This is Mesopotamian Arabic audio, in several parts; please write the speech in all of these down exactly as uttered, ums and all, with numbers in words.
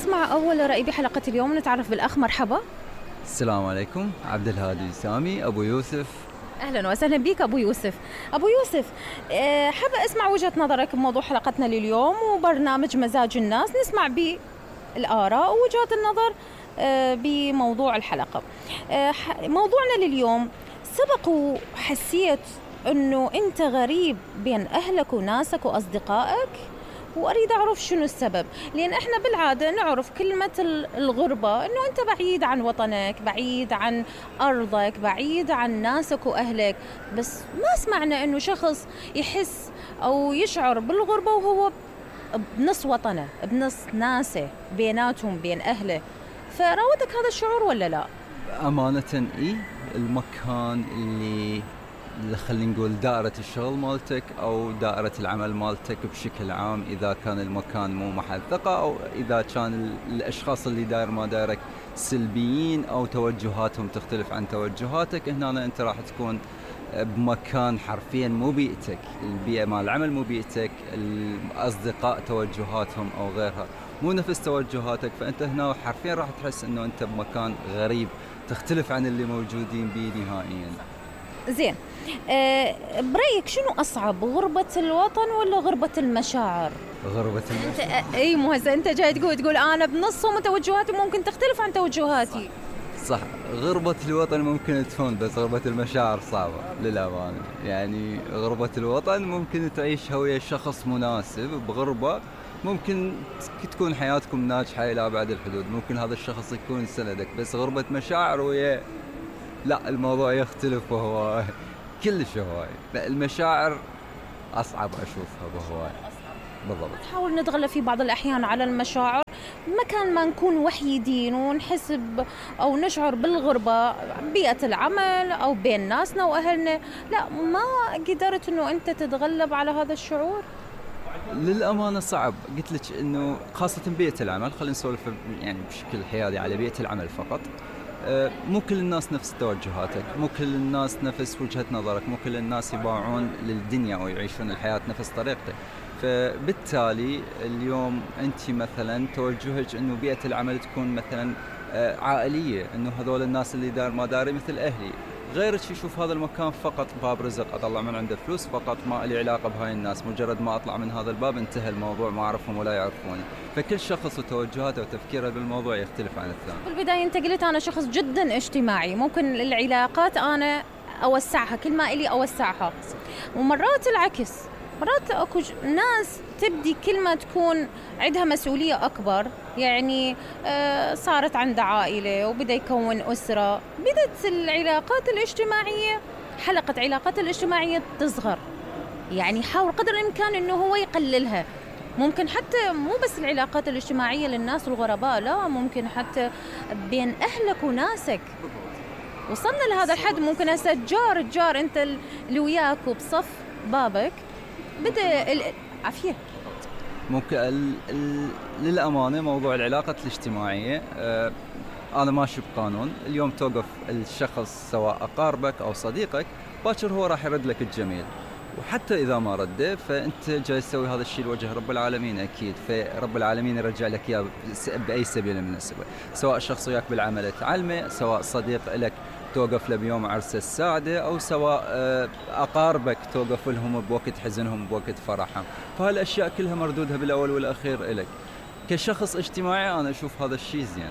نسمع أول رأي بحلقة اليوم. نتعرف بالأخ. مرحبا. السلام عليكم. عبد الهادي سامي أبو يوسف. أهلا وسهلا بك أبو يوسف. أبو يوسف، حابة أسمع وجهة نظرك بموضوع حلقتنا لليوم وبرنامج مزاج الناس. نسمع بالآراء ووجهات النظر بموضوع الحلقة. موضوعنا لليوم: سبق وحسيت أنه أنت غريب بين أهلك وناسك وأصدقائك؟ وأريد أعرف شنو السبب، لأن إحنا بالعادة نعرف كلمة الغربة أنه أنت بعيد عن وطنك، بعيد عن أرضك، بعيد عن ناسك وأهلك، بس ما سمعنا أنه شخص يحس أو يشعر بالغربة وهو بنص وطنه، بنص ناسه، بيناتهم بين أهله. فراودك هذا الشعور ولا لا؟ أمانة إيه، المكان اللي اللي خلينا نقول دائرة الشغل مالتك أو دائرة العمل مالتك بشكل عام، إذا كان المكان مو محل ثقة أو إذا كان الأشخاص اللي داير ما دايرك سلبيين أو توجهاتهم تختلف عن توجهاتك، هنا أنت راح تكون بمكان حرفيا مو بيئتك، البيئة مال العمل مو بيئتك، الأصدقاء توجهاتهم أو غيرها مو نفس توجهاتك، فأنت هنا حرفيا راح تحس أنه أنت بمكان غريب تختلف عن اللي موجودين بيه نهائيا. زين، أه برأيك شنو أصعب، غربة الوطن ولا غربة المشاعر؟ غربة المشاعر. انت اي مو هسه انت جاي تقول تقول انا بنصهم وتوجهاتي ممكن تختلف عن توجهاتي. صح, صح. غربة الوطن ممكن تهون، بس غربة المشاعر صعبة للأمانة. يعني غربة الوطن ممكن تعيشها ويا شخص مناسب، بغربة ممكن تكون حياتكم ناجحة إلى أبعد الحدود، ممكن هذا الشخص يكون سندك، بس غربة مشاعر ويا لا، الموضوع يختلف وهو كلش هواي. المشاعر أصعب أشوفها بهواي. بالضبط. نحاول نتغلب في بعض الأحيان على المشاعر مكان ما نكون وحيدين ونحس أو نشعر بالغربة، بيئة العمل أو بين ناسنا وأهلنا. لا، ما قدرت إنه أنت تتغلب على هذا الشعور؟ للأمانة صعب. قلت لك إنه خاصة بيئة العمل، خلينا نسولف يعني بشكل حيادي على بيئة العمل فقط. مو كل الناس نفس توجهاتك، مو كل الناس نفس وجهة نظرك، مو كل الناس يباعون للدنيا أو يعيشون الحياة نفس طريقتك. فبالتالي اليوم أنت مثلا توجهك إنه بيئة العمل تكون مثلا عائلية، إنه هذول الناس اللي دار ما داري مثل أهلي، غيرك يشوف هذا المكان فقط باب رزق أطلع من عنده فلوس فقط، ما لي علاقة بهاي الناس، مجرد ما أطلع من هذا الباب انتهى الموضوع، ما أعرفهم ولا يعرفوني. فكل شخص وتوجهاته وتفكيره بالموضوع يختلف عن الثاني. في البداية أنت قلت أنا شخص جدا اجتماعي، ممكن العلاقات أنا أوسعها كل ما إلي أوسعها، ومرات العكس، مرات أكو ناس تبدي كل ما تكون عندها مسؤولية أكبر، يعني آه صارت عندها عائلة وبدأ يكون أسرة، بدأت العلاقات الاجتماعية، حلقة علاقات الاجتماعية تصغر. يعني حاول قدر الإمكان إنه هو يقللها. ممكن حتى مو بس العلاقات الاجتماعية للناس الغرباء، لا، ممكن حتى بين أهلك وناسك. وصلنا لهذا الحد، ممكن هسه الجار الجار أنت اللي وياك وبصف بابك بدأ العافية. ممكن ال ال للأمانة موضوع العلاقات الاجتماعية، آه أنا ماشي بقانون، اليوم توقف الشخص سواء أقاربك أو صديقك، باكر هو راح يرد لك الجميل، وحتى إذا ما رده فأنت جاي تسوي هذا الشيء لوجه رب العالمين أكيد، فرب العالمين يرجع لك إياه بأي سبيل من السبل، سواء الشخص وياك بالعمل تعلمه، سواء صديق لك توقف له بيوم عرسه السعادة، أو سواء أقاربك توقف لهم بوقت حزنهم بوقت فرحهم، فهالأشياء كلها مردودها بالأول والأخير إلك. كشخص اجتماعي أنا أشوف هذا الشيء زين.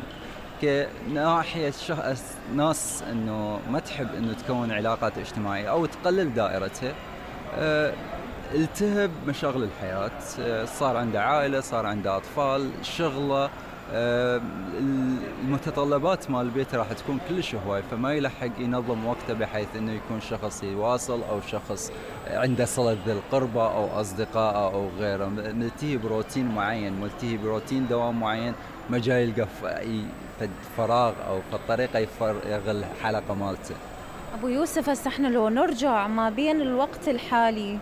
كناحية شخص ناس إنه ما تحب إنه تكون علاقات اجتماعية أو تقلل دائرتها، أه التهب مشاغل الحياة، أه صار عنده عائلة، صار عنده أطفال، شغله، أه المتطلبات مال البيت راح تكون كلش هواي، فما يلحق ينظم وقته بحيث انه يكون شخص يواصل او شخص عنده صلة ذي القربة او اصدقاء او غيره، ملتهي بروتين معين، ملتهي بروتين دوام معين، ما جاي يلقى فراغ او فالطريقة يفرغ الحلقة مالته. ابو يوسف، هسه احنا لو نرجع ما بين الوقت الحالي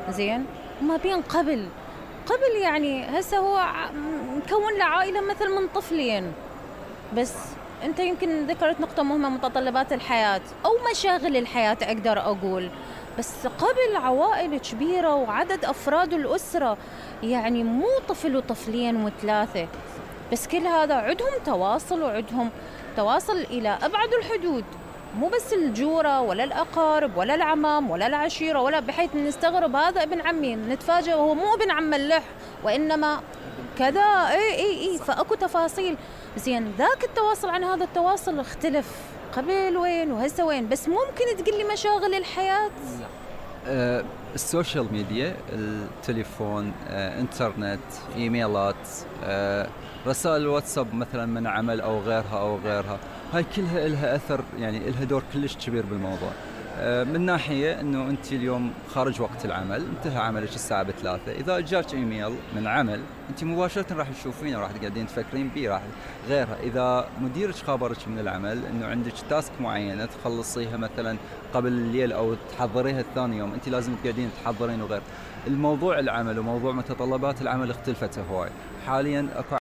زين وما بين قبل قبل يعني هسه هو مكون له عائلة مثل من طفلين بس. انت يمكن ذكرت نقطة مهمة، متطلبات الحياة او مشاغل الحياة اقدر اقول، بس قبل عوائل كبيرة وعدد افراد الاسرة، يعني مو طفل وطفلين وثلاثة، بس كل هذا عندهم تواصل وعندهم تواصل إلى أبعد الحدود، مو بس الجورة ولا الأقارب ولا العمام ولا العشيرة، ولا بحيث نستغرب هذا ابن عمي نتفاجأ وهو مو ابن عم ملح وإنما كذا. اي اي اي فاكو تفاصيل. زين ذاك التواصل عن هذا التواصل اختلف قبل وين وهسه وين. بس ممكن تقول لي مشاغل الحياة؟ أه السوشيال ميديا، التليفون، أه انترنت، ايميلات، أه رسائل الواتساب مثلا من عمل او غيرها او غيرها، هاي كلها لها اثر، يعني لها دور كلش كبير بالموضوع. من ناحية انه انت اليوم خارج وقت العمل، انتهى عملك الساعة بثلاثة، اذا جاك ايميل من عمل انت مباشرة راح تشوفينه، راح تقعدين تفكرين بيه، راح غيرها. اذا مديرك خابرك من العمل انه عندك تاسك معينة تخلصيها مثلا قبل الليل او تحضريها الثاني يوم، انت لازم تقعدين تحضرين وغير. الموضوع العمل وموضوع متطلبات العمل اختلفت هواي. حاليا اكو